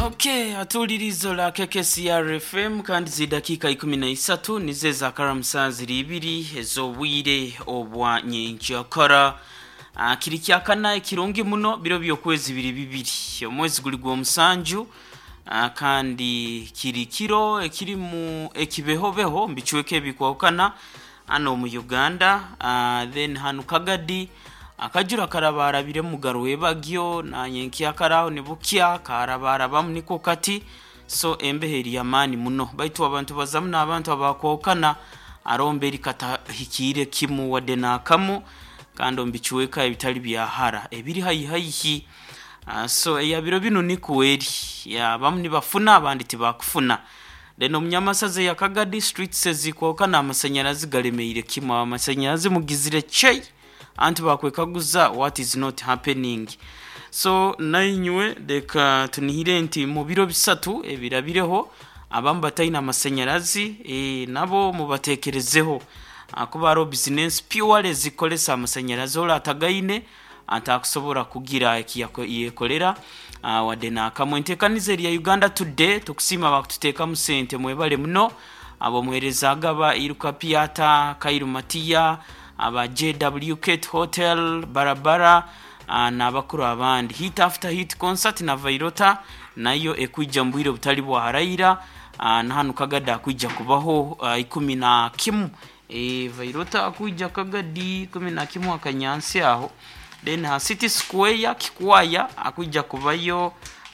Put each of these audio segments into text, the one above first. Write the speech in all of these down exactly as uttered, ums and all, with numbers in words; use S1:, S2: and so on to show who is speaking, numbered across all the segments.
S1: Okay, atuulirizo la K K C R F M, kandi zidakiika ikumi na isatu nizo ezakaramusa ziri ibiri ez'obwire obwa nyenkyakara. Ah, kiri kyakana ekirungi muno, biro by'okwezi biri bibiri, omwezi guli gw'omusanju. Ah, kandi kiri kiro ekirimu ekibehobeho mbicweka ebikwahukana hano mu Uganda. Ah, then hanu Kagadi akajura karabarabiremu garwebagyo, nanyenkyakaraho nibukya karabarabamu niko kati. So embeho eri yamaani muno, baitu abantu bazamu n'abantu abakwahukana arombe eri katahikiire kimu wadde n'akamu, kandi omu bicweka ebitali bya hara ebiri haihi haihi. Ah, so eya biro binu nikwo eri ya abamu nibafuna, abandi tibakufuna. Then omunyamasaza eya Kagadi, streets ezikwahukana amasanyarazi galemeire kimu. Amasanyarazi mugizire chei, anti bakwekaguza what is not happening. So nainywe leka tunihire nti mu biro bisatu ebirabireho abamu bataine amasanyarazi, e, nabo mubatekerezeho, kuba hariho business purely zikolesa amasanyarazi, ora atagaine atakusobora kugira ekiyekolera wadde n'akamu. Enteekaniza eri ya Uganda Today, tukusiima bakututeekamu sente, mwebale muno abo muheereza agaba Iruka Piata, Kairu Matiya, aba J W Kate Hotel Barabara, uh, n'abakuru abandi. Hit after hit concert na Vairota nayo ekwija mu bwire butali bwa haraira. uh, na hanu Kagadi akwija kubaho uh, ikumi na kimu. e, Vairota akwija Kagadi ikumi na kimu akanyansi aho. Then ha City Square Kikwaya akwija kubayo,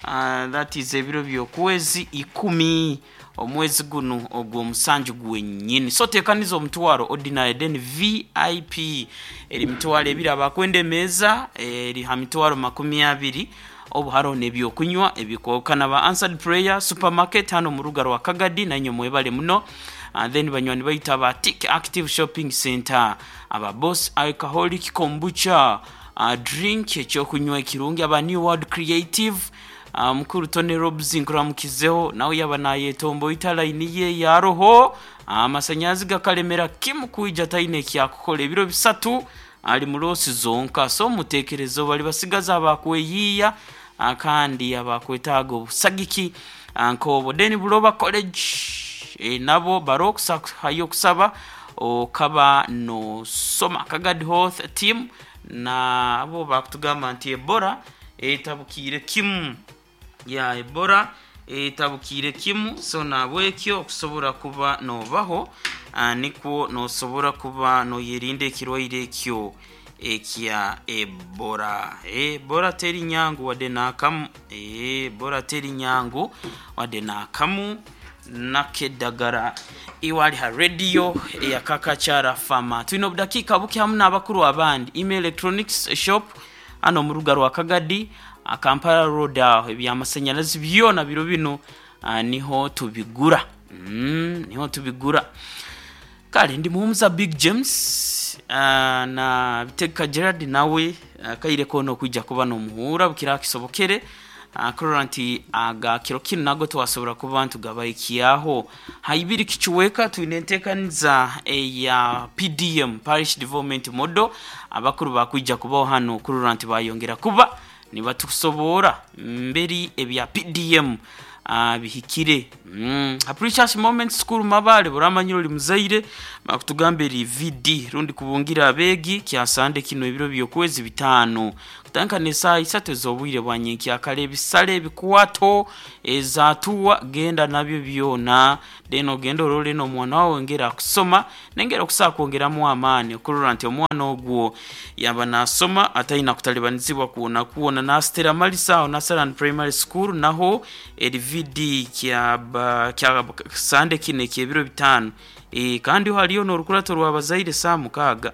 S1: uh, that is ebiro by'okwezi ikumi omwezi guno ogw'omusanju gwennyini. So teekaniza omutwaro ordinary, then V I P eri mitwaro ebiri, abakwenda emeeza eri ha mitwaro makumi abiri, obu hariho n'ebyokunywa ebikwahukana. Ba Answered Prayer Supermarket hano mu ruga rwa Kagadi, nanywe mwebale muno. uh, then banywani baitu aba Tik Active Shopping Center, aba Boss Alcoholic Kombucha uh, drink, ekyokunywa ekirungi, aba New World Creative, uh, mukuru Tony Robs nkuramukizeho, nawe yaba nayetomboita layini ye yaroho amasanyarazi gakalemera kimu kwija, taine ekyakukora, ebiro bisatu ali mu loss zonka. So mutekerezo bali basigaza abakweyiiya, ah, kandi abakwetaaga obusagiki ah, nk'obwo. Then Buloba College, e, nabo baro hayo okusaba okaba nosoma. Kagadi Health Team nabo bakutugamba nti Ebola etabukiire kimu, ya Ebola etabukiire kimu. So nabwekyo okusobora kuba nobaho, uh, nikwo nosobora kuba noyerinda ekirwaire ekyo ekya Ebola. Ebola teri nyangu wadde n'akamu. Ebola teri nyangu wadde n'akamu. Nakeddagala iwali ha radio eyakakakyara fama, tulina obudakiika buke hamu n'abakuru abandi. Email Electronics Shop hano mu ruga rwa Kagadi, Kampala Road aho, ebyamasanyarazi byona biro bino uh, niho tubigura, mm, niho tubigura. Kale ndi muhumuza Big James, uh, na Biteka Gerard nawe uh, kaire kono okwijja kuba n'omuhuura bukira kisobokere, uh, kurora nti agakiro kinu nago twasobora kuba ntugabaikyaho haibiri kicuweka. Twine enteekaniza eya P D M, Parish Development Model. Abakuru bakwija kubaho hano kurora nti bayongera kuba nibatusobora mberi ebya P D M uh, bihikire. mm. Precious Moment School Mabale, buramanyiro oli muzaire, bakutugamba eri V D rundi kubungira abeegi kyasande kino ebiro by'okwezi bitaano kutandika n'esaaha isatu ez'obwire bwa nyenkyakara. Ebisale, ebikwato, ezatuwa, genda nabyo byona, then ogenda orole n'omwana wawe ngera akusoma nengera okusobola kwongeramu amaani okurora nti omwana ogwo yaba nasoma atalina kutalibanizibwa kwona kwona. Nasitera Malisa aho Nasaran Primary School, naho eri V D kya kya sande kino ekyebiro bitaano. e, kandi haliyo n'orukurato rw'abazaire saa mukaaga.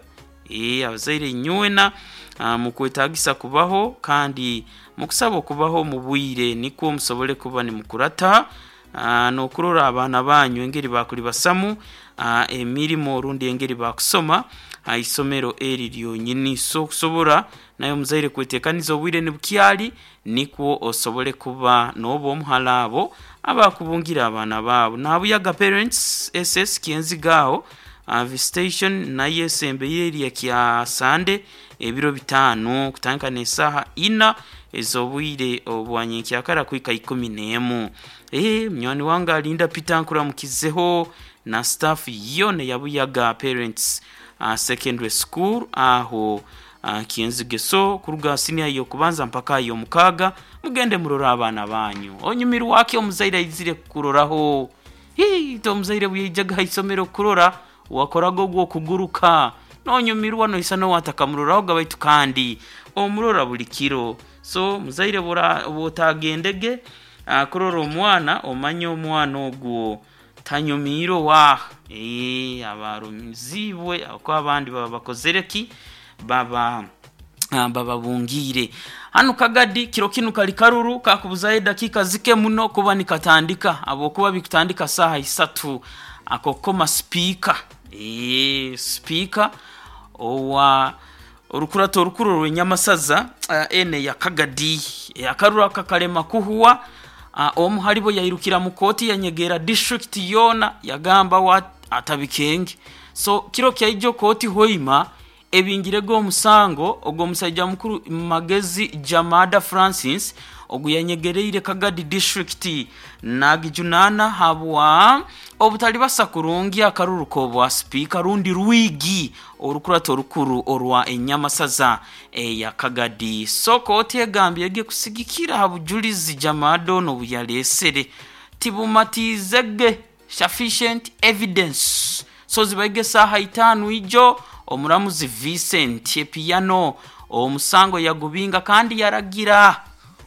S1: e, abazaire nywena uh, mukwetagisa kubaho kandi mukusaba okubaho mu bwire nikwo musobole kuba nimukurata uh, n'okurora abaana banyu engeri bakuli basamu uh, emirimu orundi engeri bakusoma ha isomero eri lyonyini. So okusobora naye omuzaire kwetekaniza obwire nibukyali nikwo osobole kuba n'oba omuhala abo abakubungira abaana baabo. Nabuyaga Parents S S Kyenziga aho. uh, visitation naye esembeire erya kya Sande ebiro bitano kutandika n'esaaha ina ez'obwire obwanyenkyakara kuhika ikumi n'emu. Eh, munywani wange alinda Peter nkuramukizeho na staff yona yabuyaga parents uh, secondary school aho uh, Kyenzigeso kuruga senior y'okubanza mpaka y'omukaaga. Mugende murora abaana banyu onyumirwaki omuzaire aizire kukuroraho. Hii, to omuzaire bweyaijaga haisomero kurora wakoraga ogw'okuguruka nonyumirwa noisa nowatakamuroraho gabaitu kandi omurora buli kiro. So muzaire bwotagendege uh, kurora omwana omanye omwana ogwo tanyumiire wa eh abarumizibwe ako abandi baba bakozereki baba uh, bababungiire. Hano Kagadi kiro kinu kali karuru kakubuzayo dakika zike muno kuba nikatandika abokuba bikutandika saha isatu akokoma speaker eh speaker owa orukurato orukuru rw'Enyamasaza uh, ene ya Kagadi e, akaruru akakalema kuhuwa uh, omu halibo yairukira mu kooti yanyegera district yona yagamba wa atabikenge. So kiro kyaijo kooti hoima ebingirego omusango ogwo musajja mukuru Magezi Jamada Francis ogu yanyegereire Kagadi district nagijunana habwa obutali basa kurungi akaruru kobwa speaker rundi rwigi orukurato orukuru orwa Enyamasaza eya Kagadi. So kooti egambye ege kusigikira habujulizi Jamada ono buyalesere tibumatizege sufficient evidence. So zibaige saha itanu ijo omuramuzi Vincent Epiano omusango yagubinga kandi yaragira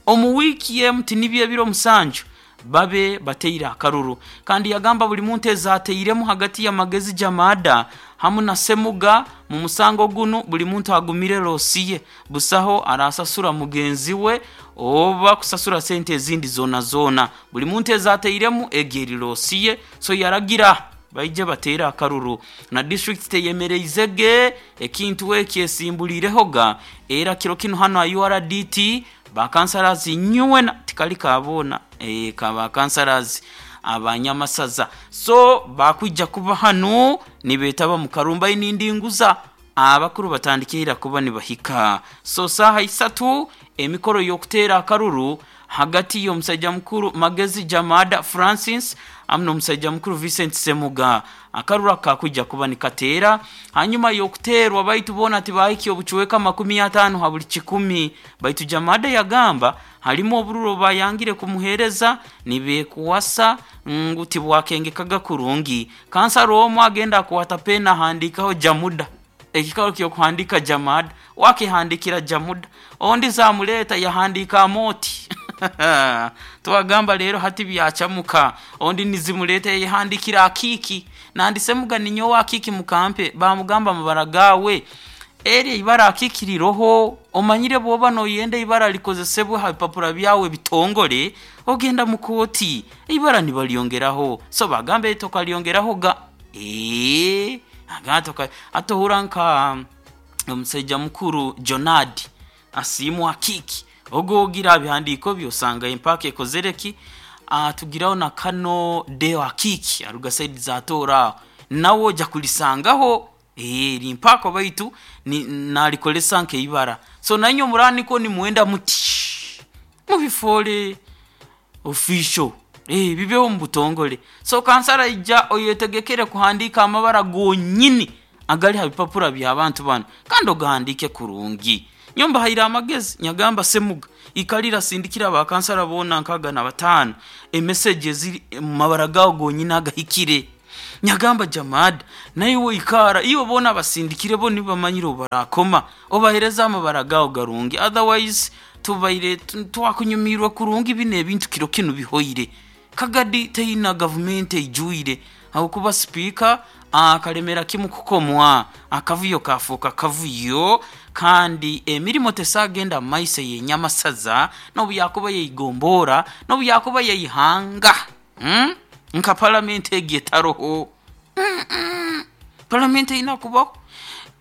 S1: omu wiki emuti nibyo ebiro musanju babe bateire akaruru kandi yagamba buli muntu ezateiremu hagati ya Magezi Jamada hamu na Semuga mu musango guno buli muntu agumire losiye busaho arasasura mugenzi we oba kusasura sente ezindi zona zona buli muntu ezateiremu egeri losiye. So yaragira baije batera akaruru na district teyemereizege ekintu ekyesimbulirehooga era kiro kino hano U R D T bakansalazi nyuwena tikali kabona e, kaba kansalazi abanyamasaza so bakwijja kuba hano nibetaba mu Karumba inindinguza abakuru batandikira kuba nibahika. So saha isatu emikoro y'okutera akaruru hagati y'omusajja mukuru Magezi Jamada Francis amno omusajja mukuru Vincent Semuga akarura kakujja kuba nikateera hanyuma y'okuteerwa baitu bona tibahiki obuchweka makumi atano ha buli kikumi baitu Jamada yagamba halimu obururo bayangire kumuhereza nibekuwasa ngu tibwakengekaga kurungi. Kansaro omwe agenda kuwata pena handikaho Jamuda ekikalo kyo kuhandika Jamada wakihandikira Jamuda ondi zamuleta yahandika moti twagamba lero hati byachamuka ondi nizimuleta yahandikira akiki nandise muga ninyo akiki mukampe bamugamba mabaragawe eri ibara akikiriroho omanyire bwoba noyenda ibara likozesebwe ha bipapura byawe bitongole ogenda mukoti ibara nibalyongeraho. So bagambe tokalyongeraho ga eh agatoka atohuranka omusajja mukuru Jonadi asimu akiki ogogira bihandiko byosanga empaka ekozereki atugiraho na kano deo akiki aruga side za tora nawo ja kulisangaho eh limpako baitu ni nalikolesa nke ibara. So nanyo murani ko ni muenda muti mubifole official eh bibeho mbutongole. So kansara ija oyetegekere kuhandika amabara gonyini agali habipapura bya abantu bano kandi ogahandike kurungi. Nyomba haira amagezi nyagamba Semuga ikalira sindikira ba kansara bona nkaga na batano e messages mabara gawo gonyini agahikire. Nyagamba Jamada nayo ikara iyo bona basindikire bo nibamanyiro barakoma obahereza amabara gawo garungi otherwise tubaire twakunyumirwa kurungi bine ebintu kiro kinu bihoire. Kagadi teina government ejuire aho kuba speaker akalemera kimu kukomwa akavuyo kafuka kavuyo kandi emirimo tesagenda maise yenyamasaza no yakuba yeyigombora no yakuba yeyihanga hmm? Nka parliament egetaroho mm -mm. Parliament inakubaho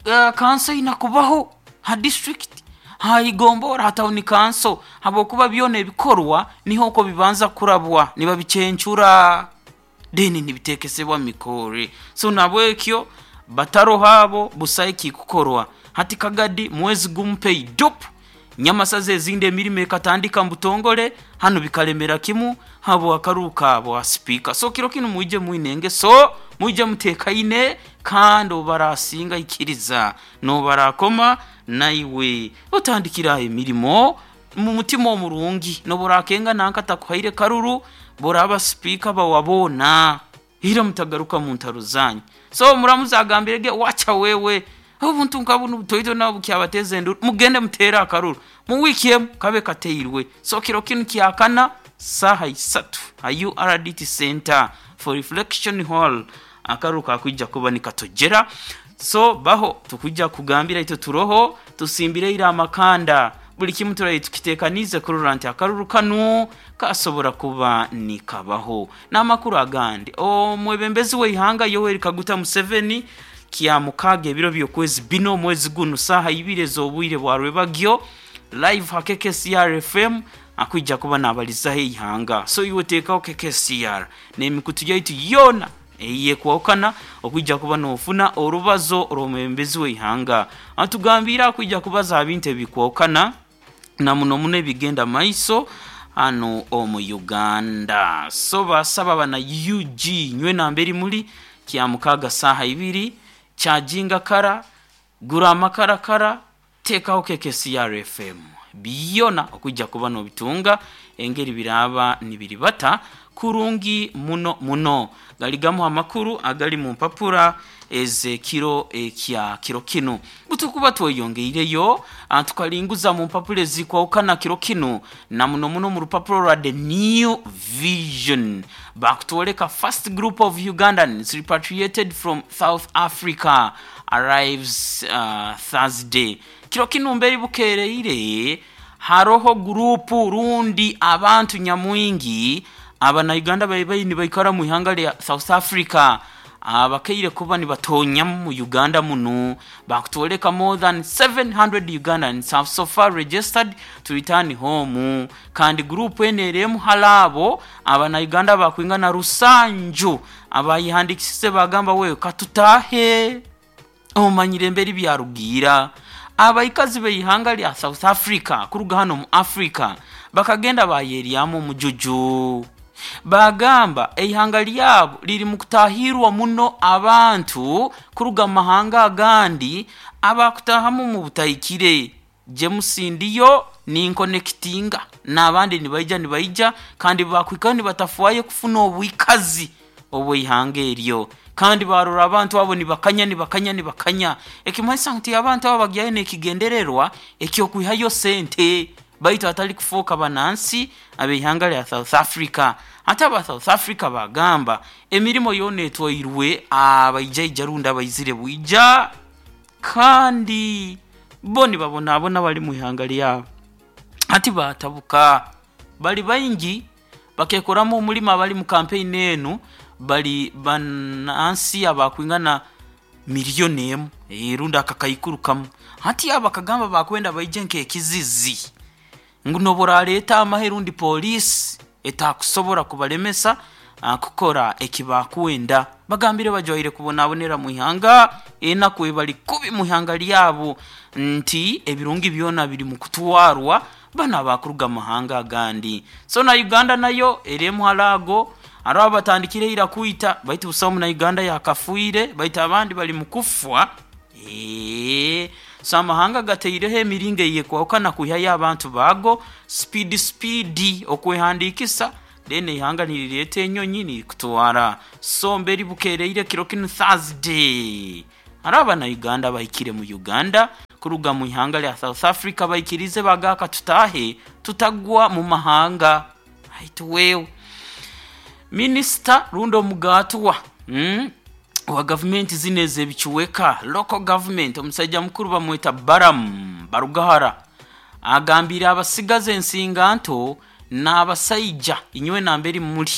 S1: uh, council inakubaho ha district hayigombora ha town council habokuba byone ebikorwa niho ko bibanza kurabwa niba bicencura deni nibitekesebwa mikore. So nabwekyo Bataroho abo busayi kikukorwa hati kagadi mwezi gumpei dop nyamasaza ezindi emirimo ekatandika mbutongole hano bikalemera kimu habo akaruka abo speaker. So kiro kinu mwije mwinenge, so mwije mutekaine kandi obarasinga ikiriza nobarakoma naiwe otandikira emirimo mu mutima omurungi noburakenga nanka takuhaire karuru boraba speaker bawabona hira mutagaruka mu ntaro zanyu. So muramuzagambirege wacha wewe obuntu nkabuno butoito nabo kyabateze nduru mugende mutera akaruru mu wiki emu kabe kateirwe. So kiro kinu kyakana saha isatu ha U R D T Center for Reflection Hall akaruru kakwijja kuba nikatojera. So baho tukujja kugambira ito turoho tusimbire ira amakanda buli kimu turayi tukitekanize kurura nti akaruru kanu kasobora kuba nikabaho. N'amakuru agandi omwebembezi w'eihanga Yoweri Kaguta Museveni kya mukaga ebiro by'okwezi bino mwezi guno saha ibiri ez'obwire bwa rwebagyo live ha K K C R F M akwijja kuba nabalizaho eihanga. So iwe teekaho K K C R n'emikutu yaitu yona eyekwawukana okwijja kuba n'ofuna orubazo rw'omwebembezi w'eihanga atugambira akwijja kubaza bintu ebikwawukana na muno muno ebigenda maiso hano omu Uganda. So basaba bana U G nywe namberi muli kya mukaga saha ibiri chajinga kara gura amakara kara tekaho K K C R F M biyona okujja kuba nobitunga engeri biraba nibiribata kurungi muno muno. Galigamu amakuru agali mu mpapura eze kiro ekya kiro kino butukuba tweyongeireyo tukalinguza mu mpapura ezikwawukana kiro kino na muno muno mu rupapuro rwa The New Vision bakutwoleka first group of Ugandans repatriated from South Africa arrives uh, Thursday. Kiro kino mberi bukereire haroho gurupu rundi abantu nyamwingi abana Uganda bayibayi nibaikara mu ihanga lya South Africa abakeire kuba nibatonya mu Uganda muno bakutoleka more than seven hundred Ugandans have so far registered to return home. Kandi group eneremu halabo abana Uganda bakwingana rusanju abayihandikise bagamba we katutahe omanyire mberi byarugira abaikazi beihanga lya South Africa kuruga hano mu Africa bakagenda bayeriamu mujuju bagamba eihanga lyabo liri mu kutahirwa muno abantu kuruga mahanga agandi abakutahamu mu butayikire. James ndiyo ninkonekitinga n'abandi nibaija nibaija kandi bakwika nibatafuaye kufuna obwikazi obwihanga eryo kandi barora abantu abo nibakanya nibakanya nibakanya ekimanyisa nti abantu abo bagyayo nekigendererwa ekyokwihayo sente baitu atali kufoka banansi ab'eihanga lya South Africa. Ate aba South Africa bagamba emirimo yona etwairwe abaija runda abaizire bwija kandi bo nibabonabona bali mu ihanga lyabo. Ati batabuka bali baingi bakekoramu omulimo bali mu campaign enu bali banansi abakwingana miliyoni emu erunda akakaikuru kamu. Ati abakagamba bakwenda baije nkekizizi ngu noboraleeta amahe rundi polisi etakusobora kubalemesa kukora ekibakwenda. Bagambire bajwaire kubonabonera mu ihanga enaku ebali kubi mu ihanga lyabo nti ebirungi byona biri mu kutwarwa bana bakuruga mahanga agandi. So na Uganda nayo eremu halago aro batandikire ira kuita baitu busamu na Uganda yakafuire baitu abandi bali mukufwa. Eh so amahanga gateireho emiringo yekwawukana kuhyayo abantu bago speed speed okwehandikisa then ihanga nilireta enyonyi nilikutwara. So mberi bukereire kiro kino Thursday araba na Uganda bahikire mu Uganda kuruga mu ihanga lya South Africa bayikirize bagaka tutahe tutagwa mu mahanga. Haitu wewe Minister Rundo Mugatwa mm? wa government zineze bichuweka local government omusajja mukuru bamweta Baram Barugahara agambira abasigaze ensinga nto n'abasaija inywe namberi muri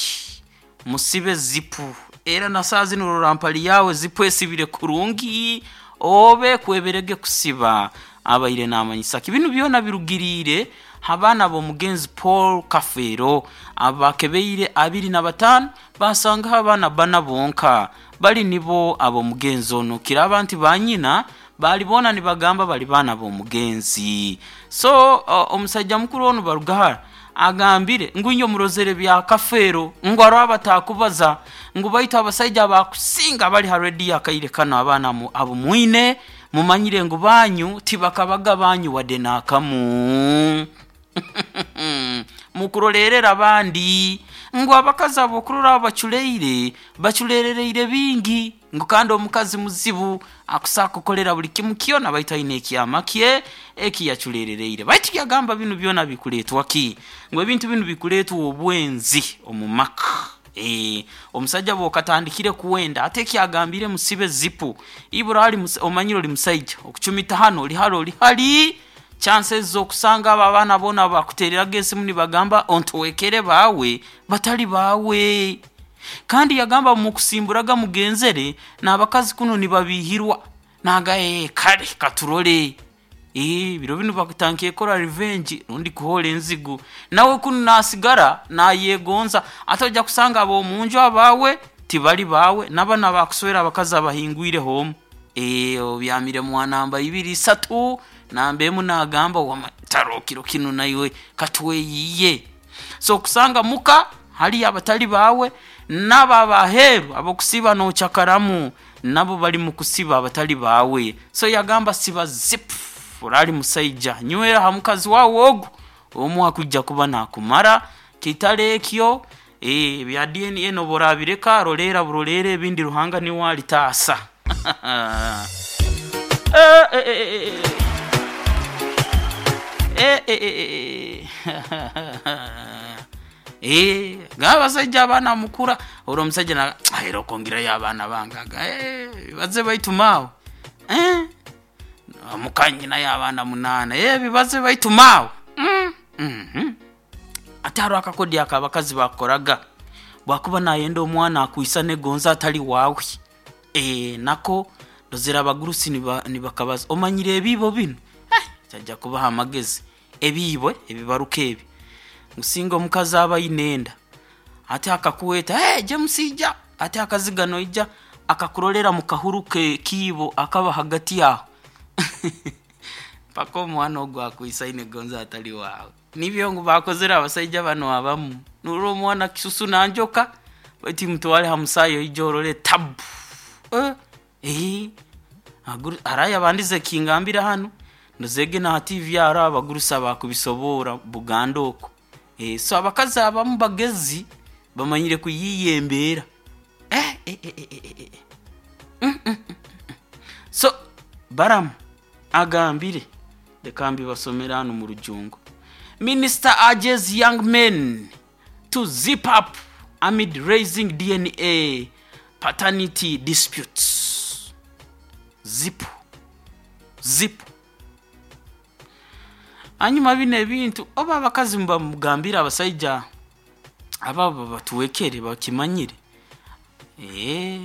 S1: musibe zipu era na saa zino rurampali yawe zipu esibire kurungi obe kweberege kusiba abaire namanyisa ibintu byona birugirire abaana b'omugenzi Paul Kafeero abakebeire abiri na bataano basangaho abaana bana bonka bali nibo ab'omugenzi ono kiraba nti banyina bali boona nibagamba bali baana b'omugenzi. So omusajja mukuru ono Barugahara agambire ngu inyo murozere bya Kafeero ngu aro abatakubaza ngu baitu abasajja abakusinga bali ha rediyo akaire kano abaana abo mwine mumanyire ngu banyu tibakabaga banyu wadde n'akamu mukurolerera abandi ngu abakazi abo okurora abaculeire baculerereire bingi ngu kandi omukazi muzibu akusaa kukolera buli kimu kyona baitu aine ekyama kye ekiyaculerereire. Baitu yagamba binu byona bikuleetwa ki? Ngu ebintu binu bikuleetwa obwenzi omu maka. E, omusajja bw'okatandikire kuwenda ate ekyagambire musibe zipu ibura ali omanyire oli musaija okucumita hano oli hali oli hali chances z'okusanga abo abaana boona bakuteereraga esimu nibagamba ontowekere baawe batali baawe. Kandi yagamba mukusimburaga mugenzere n'abakazi kuno nibabihirwa naga ee kale katurole ee biro binu bakutankiye kora revenge rundi kuhola enzigu nawe kuno nasigara nayegonza ate ojja kusanga ab'omunju abaawe tibali baawe n'abaana bakuswera abakazi abahingwire homu ee obyamire mwanamba ibiri isatu namba emu nagamba wamataro kiro kinu naiwe katweyiye. So kusanga muka hali abatali baawe n'abo abaheeru abokusiba nochakaramu nabo bali mu kusiba abatali baawe. So yagamba siba zip orali musaija nywera ha mukazi wawe ogu omu akujja kuba nakumara kitale ekyo eh bya D N A noborabireka rolera burolere ebindi Ruhanga niwe alitaasa. eh eh eh eh eh eh eh ng'abasajja abaana mukura olwo omusajja na era okongerayo abaana bangaga eh baze baitumaawo eh mukanyina abaana munaana eh bibaze baitumaawo mm mhm ate aro akakodi akabakazi bakoraga bwakuba nayenda omwana akuisa negonza atali waawe eh nako ndozera abagurusi nibakabaza omanyire ebibo bino eh kyajja kubaha amagezi ebiibwe ebibaruka ebi musinga omukazi aba inenda ate akakuweta hey, James ija ate akazigano ija akakurolera mu kahuru ke kiibo akaba hagati yaho paka omwana ogwo akuisa inegonza atali waawe. Nibyo ngu bakozera abasajja bano abamu nurwo omwana kisusu nanjoka bati mutwale hamusayo ijorole tabu eh eh araya bandize kingambira hano ndozege na T V ara abagurusa bakubisobora Buganda oko eh so abakazi abamu bagezi bamanyire kuyiyembera eh eh eh eh eh mm, mm, mm. So Baram agambire lekambi basomera hano mu rujungo. Minister urges young men to zip up amid raising D N A paternity disputes. Zip zip hanyuma bino ebintu oba abakazi mubamugambira abasajja ababo batuwekere bakimanyire eh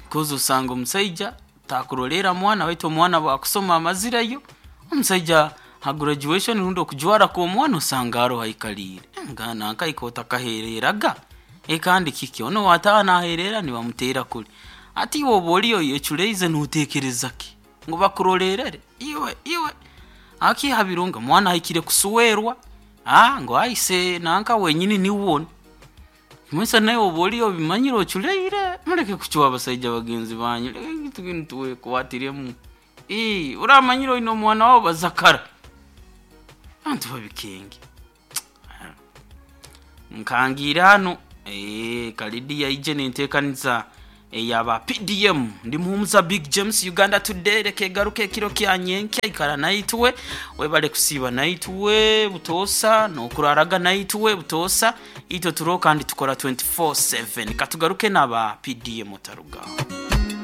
S1: kozo usanga omusajja takurolera mwana waitu omwana bwakusoma amazirayo omusajja ha graduation rundi okujwara ko omwana osanga aro haikalire ngana nkaikota kahereraga e kandi kiki ono watana aherera nibamutera kuli ati woba oliyo yechuleize nutekereza ki ngo bakurolerere iwe iwe akihabirunga mwana haikire kusuwerwa ah ngo aise nanka wenyini niwone mwesa naye oba oliyo bimanyire ochuleire muleke kuchuwa abasajja bagenzi banyu leke tukintu kuwatiremu eh uramanyire ino mwana wabo bazakara abantu babikenge nkangira hano eh Kalidi yaije nentekaniza eyaba P D M ndi muhumuza Big James Uganda Today reke garuke kiro kyanyenke ikara naitwe webale kusiba naitwe butosa no kuraraga naitwe butosa ito turo kandi tukora twenty-four seven katugaruke naba P D M taruga.